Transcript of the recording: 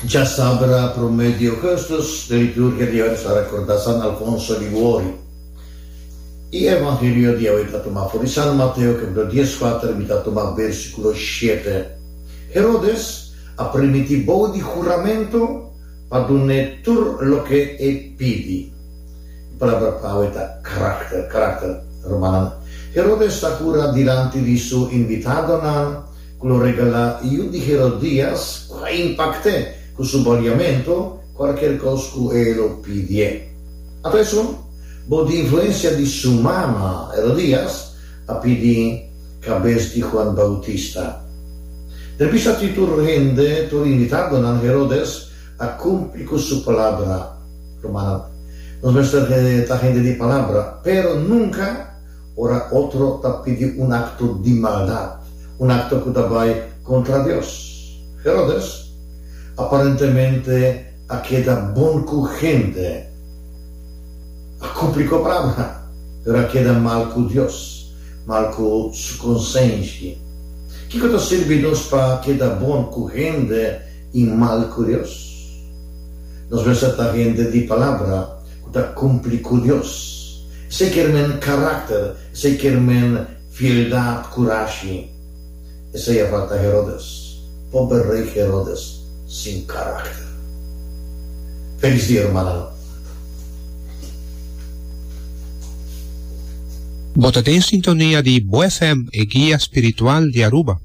Djasabra promé di ougùstùs, den liturgia di awe nos ta rekordá San Alfonso Liguori. E evangelio di awe ta tumá for di San Mateo kapítulo dieskuater, mi ta tuma bèrsikulo shete. Herodes a primintí bou di huramentu pa dun'é tur loke e pidi. E palabra pa awe ta karakter, karakter, rumannan. Herodes ta hura dilanti di su invitadonan ku lo regalá yu di Herodías ku a impakt'é ku su baliamentu kualkier kos ku e lo pidié. Anto esun, bou di influensia di su mama, Herodías a pidi kabes di Juan Bautista. Den bista di tur hende, tur invitadonan, Herodes a kumpli ku su palabra. Rumannan, nos mester ta hende di palabra, pero nunka ora otro ta pidi un akto di maldat, un akto ku ta bai kontra Dios. Herodes aparentemente a keda bon ku hende, a kumpli ku e palabra, pero a keda mal ku Dios, mal ku su konsenshi. Kiko ta sirbi nos pa keda bon ku hende i mal ku Dios? Nos mester ta hende di palabra ku ta kumpli ku Dios. Esei kier men karakter, esei kier men fieldat, kurashi. Esei a falta Herodes, pober rei Herodes sin karakter. Felis dia rumannan. Bo ta den sintonia di Bo FM, e guia spiritual di Aruba.